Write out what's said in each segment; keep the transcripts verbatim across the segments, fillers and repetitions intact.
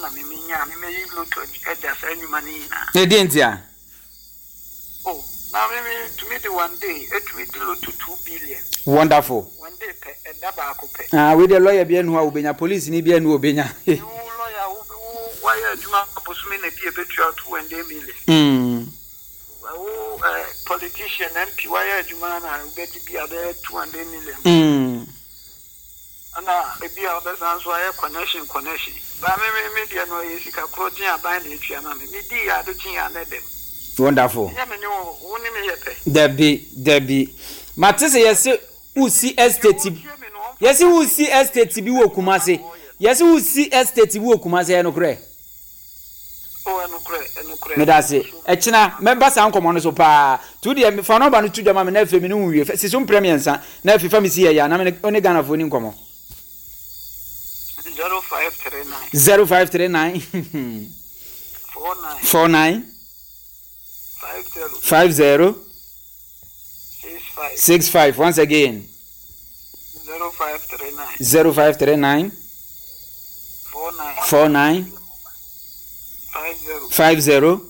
Na me menya me meyi lotto agya saa nnwuma no nyinaa. Na ɛdeɛ nti a? Oh, na me me tumi de one day etumi di lotto two billion. Wonderful. One day pɛ, ɛda baako pɛ. Ah, wei deɛ, lawyer bi anu a wobɛnya, police ni bi anu a wobɛnya. Wo lawyer, wo wo wayɛ adwuma bosome na bi ebetua two hundred million. mm. Wo eh, politician, M P, wayɛ adwuma na wobɛgye bi a bɛyɛ two hundred million. Mm. Ɛna ebi a wobɛsan so ayɛ connection connection. Ba me me me deɛ no, ɛyɛ sika korɔ gye aban na etua ma me. Me di yɛ ade kye yɛ anɛ dɛm. Wonderful. Nyɛ me ne wo, wo ne me yɛ pɛ. Dabi, dabi, mate sɛ yɛse wosi estate bi, yɛse wosi estate bi wɔ Kumase, yɛse wosi estate bi wɔ Kumase, ɛyɛ nokorɛ? O, ɛnokorɛ, ɛnokorɛ. Meda ase. Ɛkyena mɛba saa nkɔmmɔ no so paa. Tu deɛ, fa nɔba no to dwa ma me na afei me ne wo wie. Si so mprɛ mmiɛnsa na afei fa me si yɛ yɛ na me ne Ghanafoɔ ni nkɔmmɔ. Zero five three nine. zero five three nine. four nine. four nine. five zero. five zero. six five. six five. Once again. Zero five three nine. zero five three nine. four nine. four nine. five zero. five zero.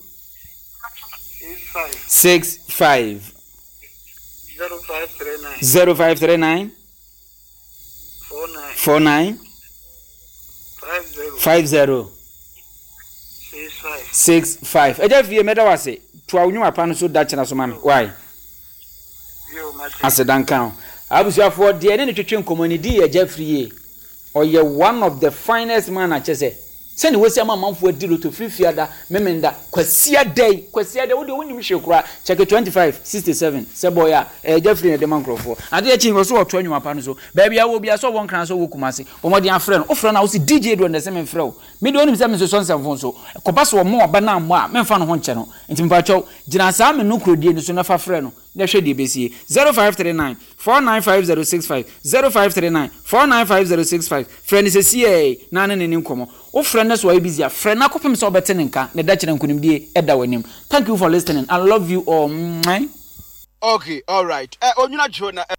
six five. six five. Zero five three nine. zero five three nine. four nine. four nine. five zero. five zero. six five. six five. Ɛgya fie, mɛda wo ase. Toa wo nnwuma pa no so da kyena so ma me. Why? Yo, mate. Asedanka ho. Abusuafoɔ, deɛ ne ne twetwe nkɔmmɔ ne di yɛ Agya Firi yie. Ɔyɛ one of the finest man akyɛ sɛ sɛne wɔsi ama amanfoɔ adi lotto firi Fiada, Memenda, Kwasia yi, Kwasia da, wodeɛ wonim hwee koraa. Kyɛke twenty-five sixty-seven sɛ bɔyɛ a ɛyɛ Agya Firi na ɛde ma nkurɔfoɔ adeɛ kyi wɔ so. Wɔto anwuma pa no so baabi a wɔ bia sɛ ɔwɔ Nkran, sɛ ɔwɔ Kumase, wɔmɔden afrɛ no. Wofrɛ no a, wosi D J doɔ ndɛ sɛ memfrɛ wo. Mede wonim sɛ mensosɔ nsɛmfo nso kɔba sɛ ɔmo ɔba no ammɔ a, memfa no ho nkyɛ no. Nti mpakyɛw, gyina saa me no kurodie no so na fa frɛ no na hwɛ deɛ ɛbɛsie. zero five three nine four nine five zero six five, zero five three nine four nine five zero six five. Frɛ no sɛsiɛ na ne ne ne nkɔmmɔ. Wofrɛ no so ɔyɛ busy a, frɛ no akɔpem sɛ wobɛte ne nka ne da kyerɛ. Nkonimdie ɛda w'anim. Thank you for listening. I love you all. Mwah. Okay, alright. Ɛ Onwuna dwo na ɛ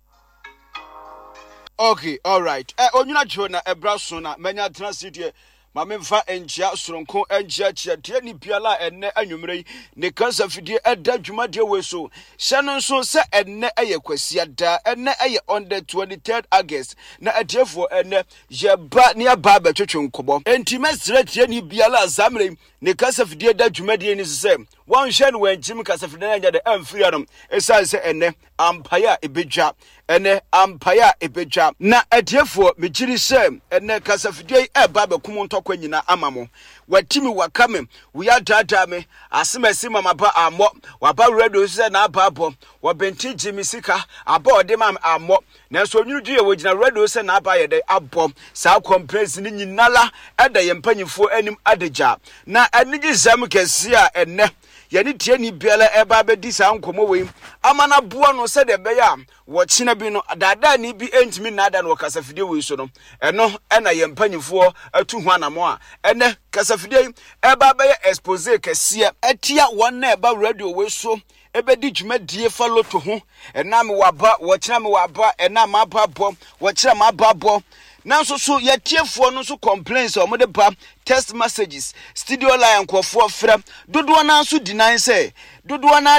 okay, alright. Ɛ Onwuna dwo na ɛbra so na manya tena se deɛ ma memfa nkyia soronko nkyiakyia tie ni biara a ɛnnɛ anwummerɛ yi ne kasa fidie ɛda dwumadeɛ wei so. Hyɛ no nso sɛ ɛnnɛ ɛyɛ Kwasia da, ɛnnɛ ɛyɛ on the twenty-third August, na atiefoɔ, ɛnnɛ yɛba ne yɛba abɛtwetwe nkɔmmɔ. Enti mɛsrɛ tie ni biara a saa mmerɛ yi ne kasa fidie da dwumadie ni so sɛ wɔnhwɛ no wɔnkyim kasa fidie no anyɛ de amfiri anom, ɛsiane sɛ ɛnnɛ ampaeɛ a ɛbɛdwa, ɛnɛ ampaeɛ a ɛbɛdwa. Na atiefoɔ, megyiri sɛ ɛnɛ kasafidie yi ɛba abɛkum ntɔkwa nyinaa ama mo. Watimi waka me woyɛ adaadaa me asɛm asi ma maba ammɔ waba radio so sɛ n'aba abɔ wɔbɛnti gye me sika aba ɔde ma me ammɔ, nanso Onwunu Dwe yɛ wɔgyina radio sɛ n'aba yɛ dɛ abɔ. Saa complaints no nyinara ɛda yɛn mpanyinfoɔ anim adagya. Na anigye sɛm kɛseɛ a ɛnɛ yɛne tiani biara ɛba abɛdi saa nkɔmmɔ wei ama no aboa no sɛdeɛ ɛbɛyɛ a wɔkyena bi no daadaani bi ntumi nnaada no wɔ kasafidie wei so no, ɛno ɛna yɛn mpanyinfoɔ atu ho anamo a ɛnɛ kasafidie yi ɛba abɛyɛ expose kɛseɛ ɛtia wɔn na ɛba radio wei so ɛbɛdi dwumadie fa lotto ho. Ɛna me waba, wɔkyena me waba, ɛna maba bɔ, wɔkyerɛ maba bɔ. Nanso so yɛtiefoɔ no nso complaints a wɔde ba, text messages, studio line, nkurɔfoɔ frɛ dodoɔ naa nso deny sɛ dodoɔ naa